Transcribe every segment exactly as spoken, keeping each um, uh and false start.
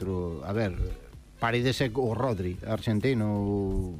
outro, a ver, Paredes é o Rodri, argentino,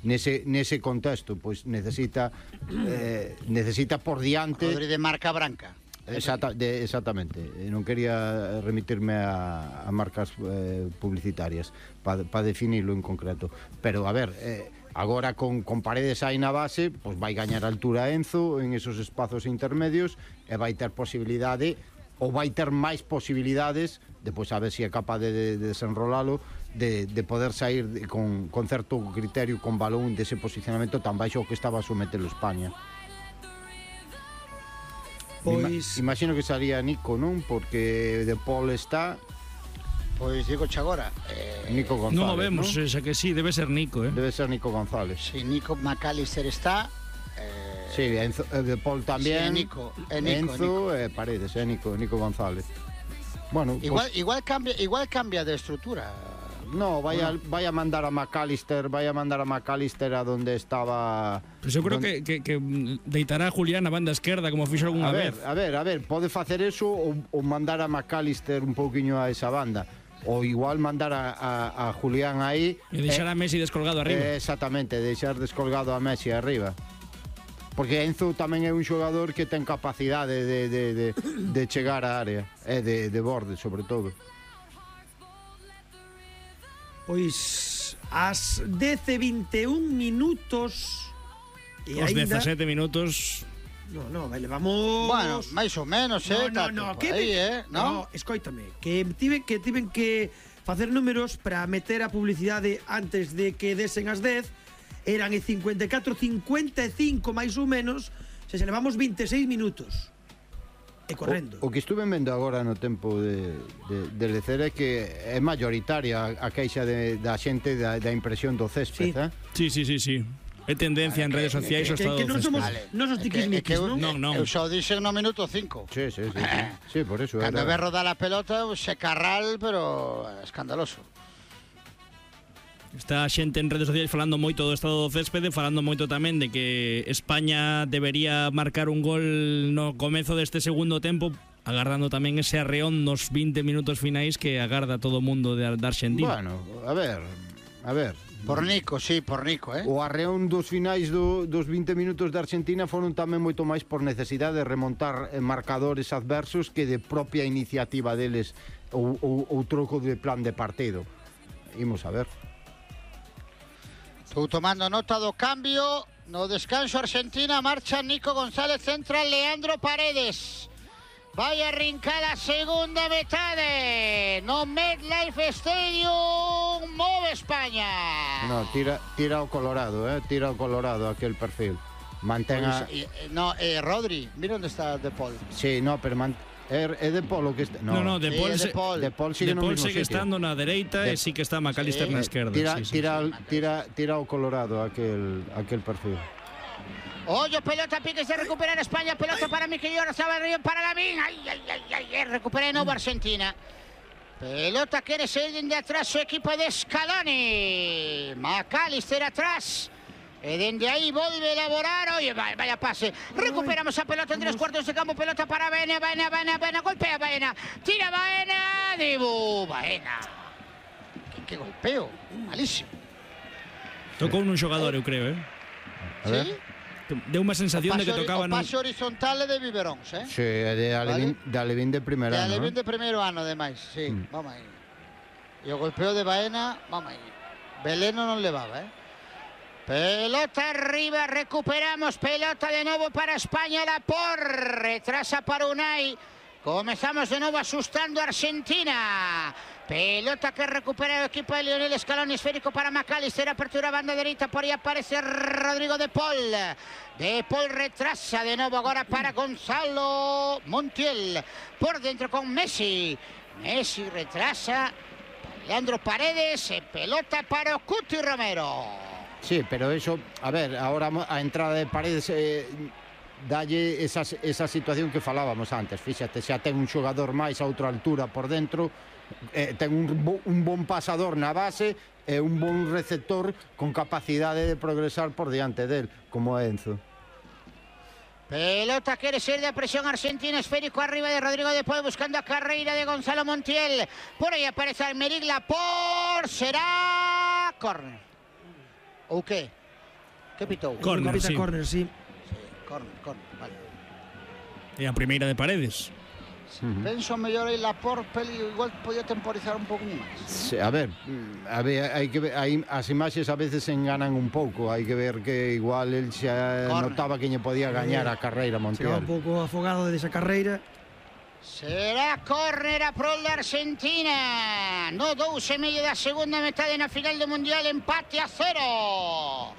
nese, nese contexto, pois necesita eh, necesita por diante... Rodri de marca branca. Exacta, de, exactamente, non quería remitirme a, a marcas eh, publicitarias para pa definirlo en concreto, pero a ver, eh, agora con, con Paredes aí na base, pois vai gañar altura Enzo en esos espazos intermedios e vai ter posibilidade, ou vai ter máis posibilidades, depois a ver se é capaz de, de, de desenrolalo, de, de poder sair de, con, con certo criterio, con balón dese posicionamento tan baixo que estaba a sometelo España. Pois... Ima, imagino que sería Nico, non? Porque De Paul está... Pois digo che agora eh, Nico González, non o vemos, ¿no? Xa que sí, debe ser Nico, eh? Debe ser Nico González. Si, sí, Nico McAllister está... Eh... Sí, Enzo, eh, De Paul tamén, sí, Nico, eh, Nico, Enzo e eh, Paredes, eh, Nico, Nico González. Bueno, igual, pues... igual, cambia, igual cambia de estructura. No, vai a, vai a mandar a McAllister, vai a mandar a McAllister a donde estaba... Pues eu creo donde... que, que, que deitará a Julián a banda esquerda como fixo algunha a ver, vez. A ver, a ver, pode facer eso ou, ou mandar a McAllister un pouquiño a esa banda. Ou igual mandar a, a, a Julián aí... E deixar eh, a Messi descolgado arriba. Eh, exactamente, deixar descolgado a Messi arriba. Porque Enzo tamén é un xogador que ten capacidade de, de, de, de chegar á área, e de, de borde, sobre todo. Pois ás dez e vinte e un minutos e os ainda... dezasete minutos. No, no, vale, vamos. Bueno, máis ou menos, eh, no, no, no, que aí, me... eh, no, no, escoítame, que tiven que tiven que facer números para meter a publicidade antes de que desen as dez. Eran e cincuenta e catro, cincuenta e cinco máis ou menos, se se levamos vinte e seis minutos. E correndo. O, o que estuve vendo agora no tempo de, de, de lecer é que é mayoritaria a queixa de, da xente da, da impresión do césped, sí. eh? Sí, sí, sí, sí. É tendencia en redes sociais o estado que, que, que non somos vale. non os tiquismiquis, non? Non, non. Eu só dixen no minuto cinco. Sí, sí, sí, sí. Sí, por eso Cando era... ve rodar a pelota, se carral, pero escandaloso. Está a xente en redes sociais falando moito do estado do céspede, falando moito tamén de que España debería marcar un gol no comezo deste segundo tempo, agardando tamén ese arreón nos vinte minutos finais que agarda todo o mundo de, de Argentina. Bueno, a ver, a ver. Por Nico, sí, por Nico, eh? O arreón dos finais do, dos vinte minutos de Argentina foron tamén moito máis por necesidade de remontar marcadores adversos que de propia iniciativa deles ou, ou, ou troco de plan de partido. Imos a ver. Estou tomando nota do cambio. No descanso Argentina marcha Nico González, centra Leandro Paredes. Vai a arrincar a segunda metade. No MetLife Stadium move España. No, tira, tira o Colorado, eh? Tira o Colorado aquel perfil. Mantenga... Pues, eh, no, eh, Rodri, mira onde está De Paul. Sí, no, pero man... É, é De Paul o que está... No, no, De Paul, sí, se... de Paul. De Paul sigue, de Paul no mismo sigue sitio. estando na dereita de... e sí que está McAllister sí. na esquerda. Tira, sí, sí, tira, sí. tira, tira o Colorado aquel, aquel perfil. Ollo, pelota, piques de recuperar España, pelota para Miquel Oyarzabal, Río para Lavín. Ay, ay, ay, ay, ay, recupera de novo Argentina. Pelota quere sair dende atrás o equipo de Scaloni. McAllister atrás. E dende aí volve a elaborar. Oye, vaya, vaya pase. Recuperamos a pelota entre os cuartos de campo. Pelota para Baena, Baena, Baena, Baena. Golpea Baena. Tira Baena. Dibu, Baena. Que, que golpeo. Malísimo. Tocou nun xogador, eu creo, eh? A ver. ¿Sí? Deu unha sensación de que tocaba... O pase horizontal é de Biberóns, eh? Sí, é de Alevín, ¿Vale? de Alevín de primer de ano. Alevín ¿no? de primeiro ano, ademais, sí. Mm. Vamos aí. E o golpeo de Baena, vamos aí. Veleno non levaba, eh? Pelota arriba, recuperamos, pelota de novo para España, la por, retrasa para Unai, comezamos de novo asustando a Argentina, pelota que recupera o equipo de Lionel Scaloni, esférico para McAllister, apertura banda dereita, por aí aparece Rodrigo De Paul, De Paul retrasa de novo agora para Gonzalo Montiel, por dentro con Messi, Messi retrasa, Leandro Paredes, pelota para o Cuti Romero. Sí, pero eso, a ver, ahora a entrada de Paredes eh, dalle esa, esa situación que falábamos antes. Fíxate, xa ten un xogador máis a outra altura por dentro, eh, ten un, un bon pasador na base e un bon receptor con capacidade de progresar por diante del, como Enzo. Pelota quere ser de presión argentina, esférico arriba de Rodrigo de Paul, buscando a carreira de Gonzalo Montiel. Por aí aparece Aymeric Laporte, será córner. Ou que? Que pitou? Córner, sí. Córner, sí. Sí, córner, córner, vale. E a primeira de Paredes. Uh-huh. Penso mellor aí Laporte, Peli, igual podía temporizar un pouco máis. Sí, a ver, a ver, hai que ver, hai, as imaxes a veces enganan un pouco, hai que ver que igual el xa Corner. notaba que lle podía gañar a carreira Chegaba Montiel. un pouco afogado desa carreira. Será córner a prol de Argentina. No dous e medio da segunda metade na final do Mundial, empate a cero.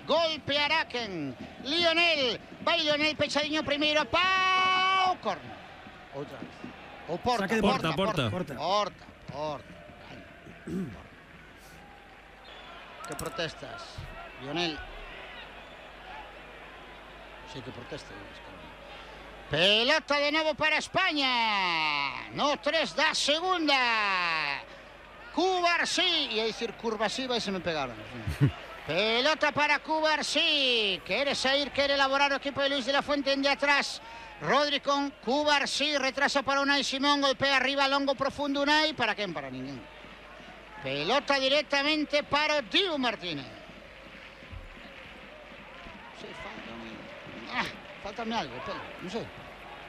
Golpe Araken. Lionel. Vai Lionel pechadiño primeiro. Pau. Córner. Outra vez. O porta, Saque de porta, porta, porta. porta. Porta, porta. Que protestas, Lionel? Sí que protesta. Pelota de novo para España. No tres da segunda. Cubarsí. E a dicir Curvasí vai se me pegaron. Pelota para Cubarsí. Quere sair, quere elaborar o equipo de Luis de la Fuente en de atrás. Rodri con Cubarsí, retrasa para Unai Simón, golpea arriba, longo, profundo Unai. ¿Para quién? Para ninguén. Pelota directamente para Dibu Martínez. Sí, faltame... Ah, faltame algo, pelo, no sé.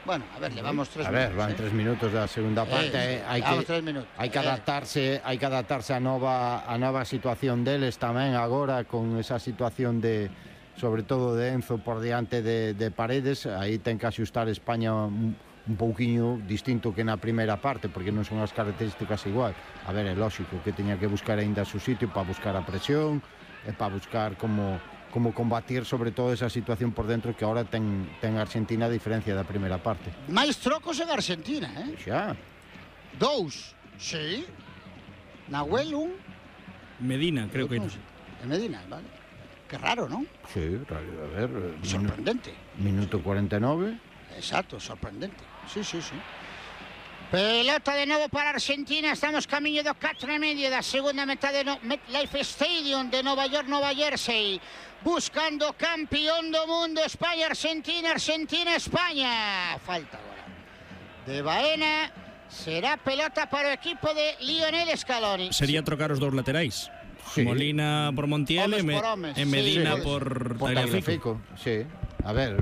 Bueno, a ver, llevamos tres a minutos. ver, van ¿eh? tres minutos da segunda parte, Eh, eh, hai vamos que tres minutos. hai que Eh. adaptarse, hai que adaptarse a nova a nova situación deles tamén agora con esa situación de sobre todo de Enzo por diante de, de Paredes, aí ten que axustar España un, un pouquiño distinto que na primeira parte, porque non son as características igual. A ver, é lógico que teña que buscar aínda o seu sitio para buscar a presión e para buscar como como combatir sobre todo esa situación por dentro que ahora ten, ten Argentina a diferencia da primeira parte. Máis trocos en Argentina, eh? Xa. Dous, sí. Nahuel, un. Medina, creo que... Outro, de Medina, vale. Qué raro, ¿no? Sí, a ver, minu- Sorprendente. minuto cuarenta e nove. Exacto, sorprendente. Sí, sí, sí. Pelota de novo para Argentina. Estamos camiño do catro e medio da segunda metade no MetLife Stadium de Nova York, Nova Jersey. Buscando campeón do mundo. España, Argentina, Argentina, España. Falta agora de Baena. Será pelota para o equipo de Lionel Scaloni. Sería trocar os dous laterais. Sí. Molina por Montiel Homes e, me, por homes, e Medina sí. por Por Tagliafico. Tagliafico, sí. A ver,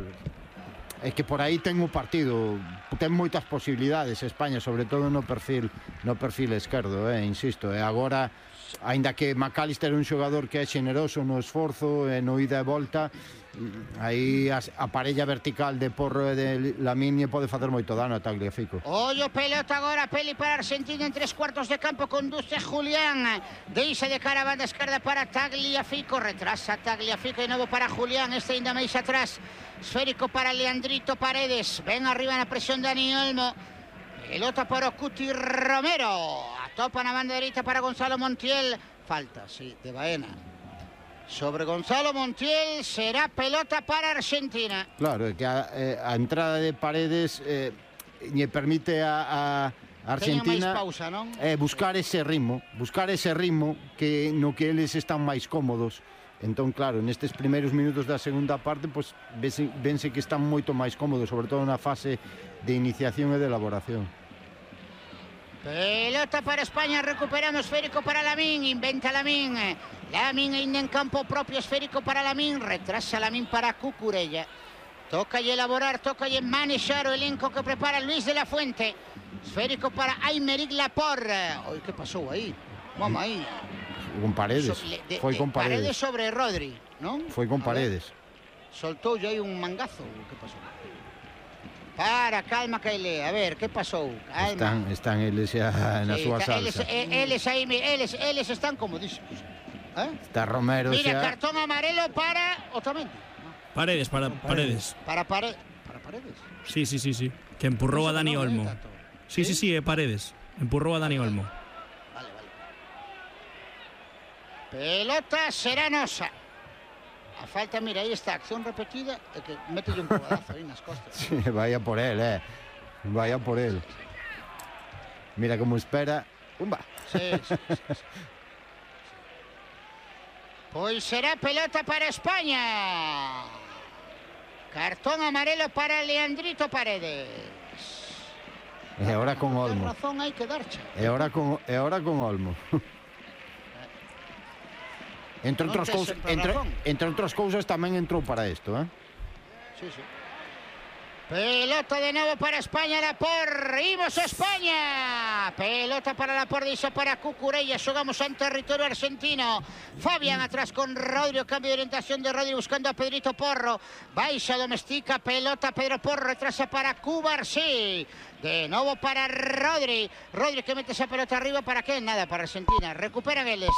é que por aí ten o partido, ten moitas posibilidades España, sobre todo no perfil no perfil esquerdo, eh, insisto, e agora aínda que McAllister é un xogador que é xeneroso no esforzo e no ida e volta, aí a, a parella vertical de Porro e de Lamine pode facer moito dano a Tagliafico. Ollo, pelota agora, Peli para Argentina en tres cuartos de campo, conduce Julián, deixa de cara a banda esquerda para Tagliafico, retrasa Tagliafico de novo para Julián, este ainda máis atrás, esférico para Leandrito Paredes, ven arriba na presión Dani Olmo, pelota para Cuti Romero, atopa na banda dereita para Gonzalo Montiel, falta, sí, de Baena. Sobre Gonzalo Montiel será pelota para Argentina. Claro, é que a, eh, a entrada de Paredes eh, lle permite a, a Argentina Teña máis pausa, non? eh, buscar ese ritmo, buscar ese ritmo que no que eles están máis cómodos. Entón, claro, nestes primeiros minutos da segunda parte, pues, vense, vense que están moito máis cómodos, sobre todo na fase de iniciación e de elaboración. Pelota para España, recuperamos, esférico para Lamine, inventa Lamine, Lamine ainda en campo propio, esférico para Lamine, retrasa Lamine para Cucurella, toca y elaborar, toca y manejar o elenco que prepara Luis de la Fuente, esférico para Aymeric Laporte. Oye, ¿qué pasó ahí? Vamos ahí. Con Paredes, So, le- de- foi de- con Paredes, Paredes sobre Rodri, ¿no? foi con A ver, Paredes. soltou ya aí un mangazo, ¿qué pasó? Para, calma, Kaile, a ver, ¿qué pasó? Calma. Están, están eles xa na Sí, súa está- eles, salsa. eh, eles aí, mi- eles, eles están comodísimos. ¿Eh? Está Romero Mira, xa. cartón amarelo para Otamendi. Paredes, para Paredes. Para Paredes. Para Paredes. Sí, sí, sí, sí. Que empurrou a Dani No, Olmo. eh, Tato. Sí, sí, sí, é Paredes. Empurrou a Dani Olmo. Vale, vale. Pelota será nosa. A falta, mira, aí está, acción repetida, é que mételle un cobadazo aí nas costas. Sí, vaya por él, eh. Vaya por él. Mira como espera. Pumba. Sí, sí, sí, sí. Pois será pelota para España. Cartón amarelo para Leandrito Paredes. E ahora con Ten Olmo. razón, hai que darche. E ahora con, e ahora con Olmo. Entre Non outras tes cousas, sempre entre, razón. entre outras cousas tamén entrou para isto, eh? Sí, sí. Pelota de novo para España, Laporte. Imos a España. Pelota para Laporte, iso para Cucurella. Xogamos en territorio argentino. Fabián atrás con Rodri. O cambio de orientación de Rodri buscando a Pedrito Porro. Baixa, domestica, pelota Pedro Porro. Retrasa para Cubarsí. De novo para Rodri. Rodri que mete esa pelota arriba. ¿Para qué? Nada, para Argentina. Recuperan eles.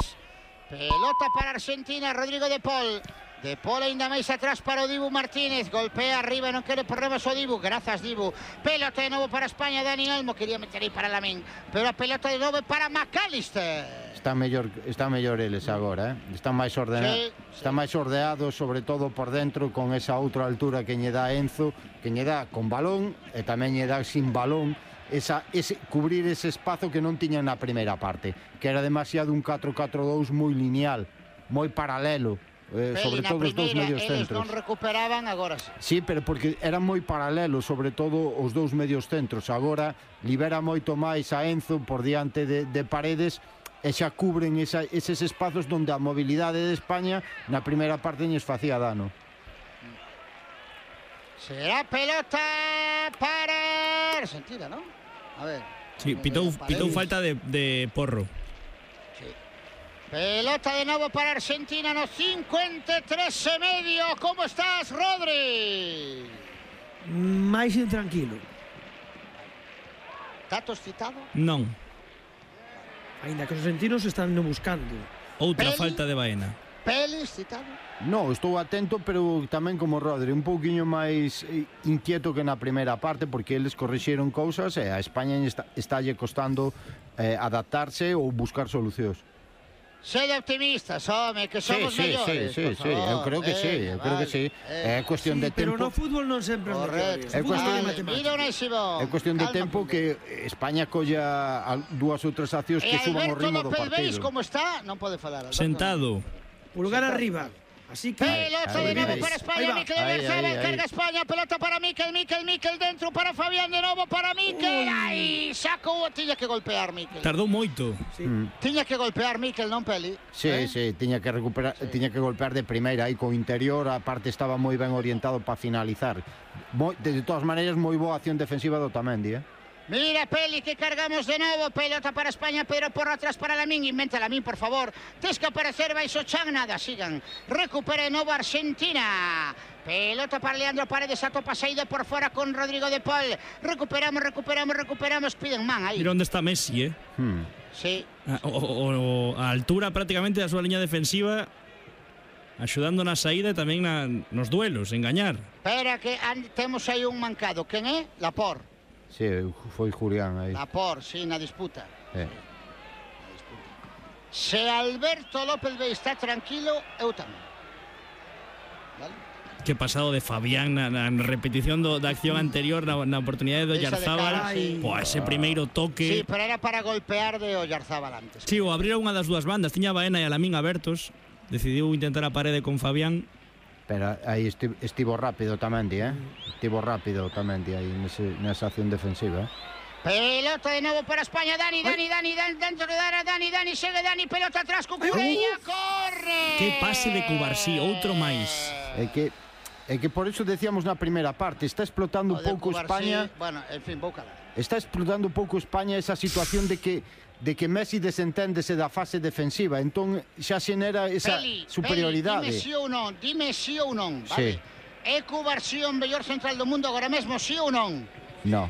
Pelota para Argentina, Rodrigo de Paul. De Paul ainda máis atrás para o Dibu Martínez. Golpea arriba, non quere problemas o Dibu. Grazas, Dibu. Pelota de novo para España, Dani Olmo. Quería meter aí para Lamín. Pero a pelota de novo para McAllister. Está mellor, está mellor eles agora, eh? Están máis ordenados, Sí, están sí. máis ordeados, sobre todo por dentro, con esa outra altura que lle dá Enzo, que lle dá con balón e tamén lle dá sin balón. Esa, ese, cubrir ese espazo que non tiñan na primeira parte, que era demasiado un catro catro dous moi lineal, moi paralelo, eh, Peli sobre na todo os dous primeira, medios eles centros. non recuperaban, agora sí. Sí, pero porque eran moi paralelos, sobre todo os dous medios centros. Agora libera moito máis a Enzo por diante de, de Paredes e xa cubren esa, eses espazos donde a mobilidade de España na primeira parte lles facía dano. Será pelota para Argentina, ¿no? A ver. Sí, pitou, pitou falta de, de Porro. Sí. Pelota de novo para Argentina no cincuenta e tres e medio. ¿Cómo estás, Rodri? Máis intranquilo. ¿Tato excitado? Non. Ainda que os argentinos están no buscando. Outra Pel- falta de Baena. Peli excitado? No, estou atento, pero tamén como Rodri, un pouquiño máis eh, inquieto que na primeira parte, porque eles corrixeron cousas e a España está, estálle costando eh, adaptarse ou buscar solucións. Sede optimistas, home, que somos sí, mellores. sí, sí, por sí, favor. eu creo que sí, Venga, eu creo que vale, sí. venga. É cuestión Sí, de pero tempo. no fútbol non sempre é Correcto. mellores. É O fútbol cuestión- é Vale, matemática. mira Onésimo. É cuestión de Calma, tempo primeiro. que España colla a- dúas ou tres accións E que suban o Alberto ritmo do López Veis, partido. como está, non pode falar. Alberto. Sentado. Pulgar arriba. Así que Pelota Ahí, de nuevo ahí. para Ahí España, va. Mikel Ahí, Oyarzabal, ahí, ahí. carga España, pelota para Mikel, Mikel, Mikel dentro para Fabián, de novo para Mikel, aí, sacou, tiña que golpear Mikel. Tardou moito. sí. Tiña que golpear Mikel, non Peli? Sí, Eh? sí, tiña que recuperar, tiña que golpear de primeira aí co interior, a parte estaba moi ben orientado para finalizar. Moi, de todas maneiras moi boa acción defensiva do Otamendi, eh. Mira, Peli, que cargamos de novo. Pelota para España, Pedro Porro atrás para Lamín. Inventa Lamín, por favor. Tes que aparecer, baixo Chan, nada, sigan. Recupera de novo Argentina. Pelota para Leandro Paredes, atopa saída por fora con Rodrigo de Paul. Recuperamos, recuperamos, recuperamos. Piden man aí. Mira onde está Messi, eh? Hmm. Sí. A, o, o, a altura prácticamente da súa liña defensiva, axudando na saída e tamén na, nos duelos, engañar. Espera que an- temos aí un mancado. Quen é? Laporte. Sí, foi Julián aí. Laporte, sí, na disputa. Eh. Se Alberto López Veis está tranquilo, eu tamén. Vale? Que pasado de Fabián na, na repetición do, da acción anterior na, na oportunidade do Esa de Oyarzábal. cara, sí. Poa, ese primeiro Sí, toque. pero era para golpear de Oyarzábal antes. Sí, o abrira unha das dúas bandas. Tiña a Baena e a Lamín abertos. Decidiu intentar a parede con Fabián. Pero aí esti- estivo rápido Otamendi, eh. Estivo rápido Otamendi aí nese, nesa acción defensiva, eh. Pelota de novo para España, Dani, Dani, Dani, Dani, dentro de área, Dani, Dani, segue Dani, pelota atrás, Cucurella, corre. Que pase de Cubarsí, outro máis. É que é que por eso decíamos na primeira parte, está explotando O un de pouco Cubarsí, España. Bueno, en fin, vou calar. Está explotando un pouco España esa situación de que de que Messi desenténdese da fase defensiva, entón xa xenera esa Peli, superioridade. Peli, dime sí ou non, dime sí ou non, Sí. vale? É Cubarsí o mellor central do mundo agora mesmo, sí ou non? No,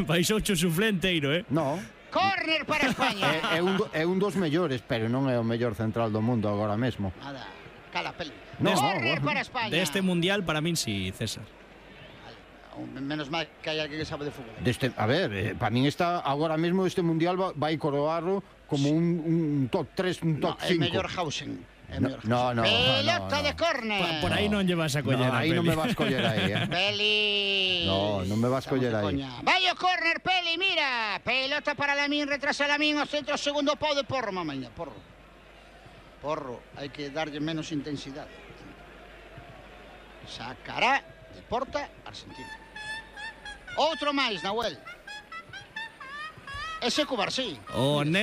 Baixou o suflenteiro, eh? no. Córner para España. É, é, un, do- é un dos mellores, pero non é o mellor central do mundo agora mesmo. Nada, cala, Peli. No, Córner no, para España. Deste mundial, para min sí, César. Vale, menos mal que hai alguén que sabe de fútbol. Deste, a ver, eh, para min está agora mesmo este mundial va, vai coroarlo como un, un top tres, un No, top é cinco. mellor Hausen. É No, mellor no, Hausen. no, Pelota no, no. de córner. Pa- por aí non lle vas a coller No, a aí non Peli. me vas coller aí, eh. Peli. No, non me vas Estamos coller de aí. coña. Vai o córner, Peli, mira. Pelota para Lamín, retrasa Lamín, o centro, segundo pau de Porro, mamaña, Porro. Porro, hai que darlle menos intensidade. Sacará de porta Argentina. Outro máis, Nahuel. Ese Cubarsí. O